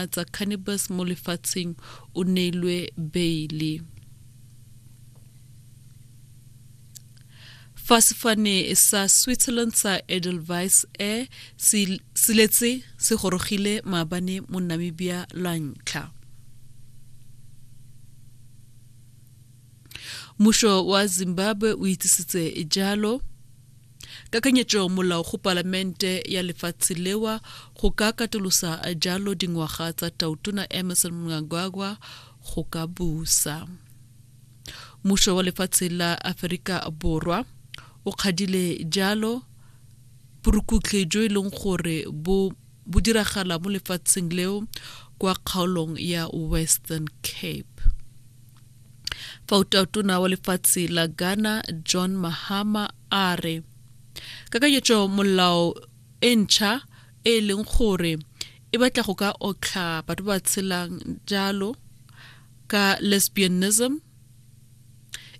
meriana tsa cannabis mo lefatsheng o neilwe beile. Fa sefane sa Switzerland sa Edelweiss Air se letse se gorogile maabane mo Namibia la ntlha. Mmušo wa Zimbabwe o itsisitse jalo kakanyetšo molao go palamente ya lefatshe lewa go ka katolosa jalo dingwaga tsa tautona Emmerson Mnangagwa go ka busa. Mmušo wa lefatshe la Aferika Borwa o kgadile jalo borukutlhi jo e leng gore bo bo diragala mo lefatsheng leo kwa kgaolong ya Western Cape. Fa utautona wa lefatshe la Ghana John Mahama a re kakanyetso molao e ntšha e leng gore e batla go ka otlha batho ba tshelang jalo ka lesbianism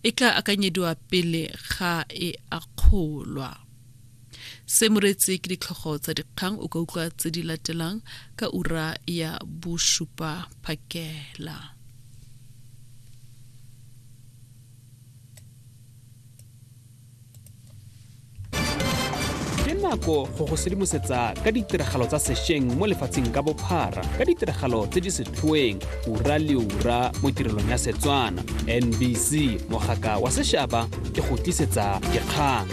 e tla akanyediwa pele ga e akgolwa. Se moretse ke ditlhogo tsa dikgang o ka utlwa tse di latelang ka ura ya bosupa phakela. Ke nako go go sedimosetsa ka ditiragalo tsa sešweng mo lefatsheng ka bophara ka ditiragalo tse di setlhoeng ura le ura mo tirelong ya Setswana. NBC mogaka wa sešaba e go tlisetsa dikgang.